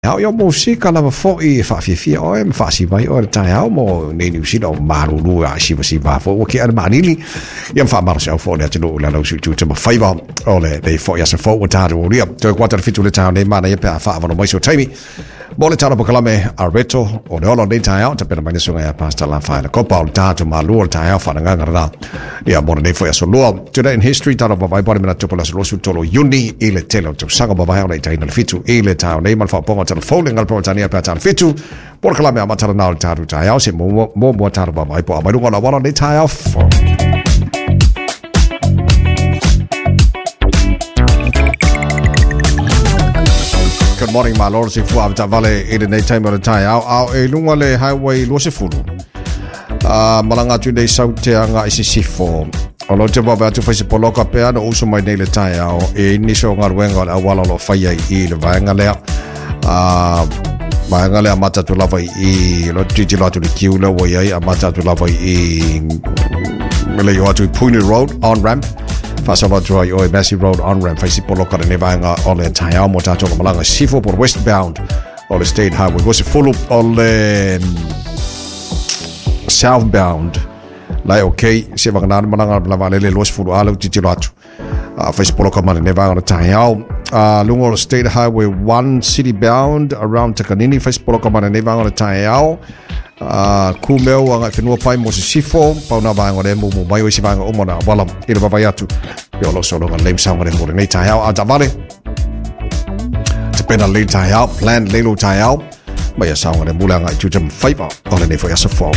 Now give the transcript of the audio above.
Ao ia musika lava fo'i e faafiafia oe ma faasiva ai oe i le taeao mo nei Niu Sila o malulu a sivasiva foi ua kea le maalili ia ma faamalosiau foi le atunuu i lana usu i tiute ma faiva o lenei foi aso fou ua tatou aulia. Toe kuata le 7 le taeao nei manaia pe a faaavanoa mai so taimi mo le tala polokalame a Roberto o le ola o lenei taeao tapena mai le susuga ia Pastor Lafaele Kopa o le tatou malua o le taeao faanagaga lena ia mo lenei foi aso lua. Today in History, tala vavae po le manatu po le aso 23 o Iuni i le tele o tausaga mavae ona itaina le 7 i le taeao nei ma le faaopooga o tala fou le gala pe a tala 7 po le kalame amata lena o le tatou taeao se muamua tala vavae po a mai luga o le auala o lenei taeao fou. Good morning, malo le soifua avetaavale i lenei taimi o le taeao ao e luga le highway 20. Malaga atu nei sau te aga i sisifo. O lo te wawe atu whaise poloka pea no uso mai nei le taeao e nisi o galuega o le auala o lo o faia i le vaega lea. Vaega lea amata atu lava i lo tilotilo atu i le kiu lea ua i ai amata atu lava i le i o atu i Puni Road on ramp faasolo atu ai oe Massey Road on ramp faisi poloka lenei vaega o le taeao mo tatou o malaga sifo po westbound o le State Highway 20 o le southbound la e okay se vagana le malaga la vaalele 20 a le tilotilo atu faisi poloka ma lenei vaega o le taeao. Luga o le State Highway 1 city bound around Takanini faisi poloka ma lenei vaega o le taeao. Kumeu agai whenua pai mo sisifo pau nā vaega o le mumu mai o isi vaega uma na wala i le vavai atu i o lo sologa lame saunga le mo lenei taeao a tavale te pena le taeao plan le lo taeao mai a saunga le mule agai tuta mwhaiva o lenei foi aso fou.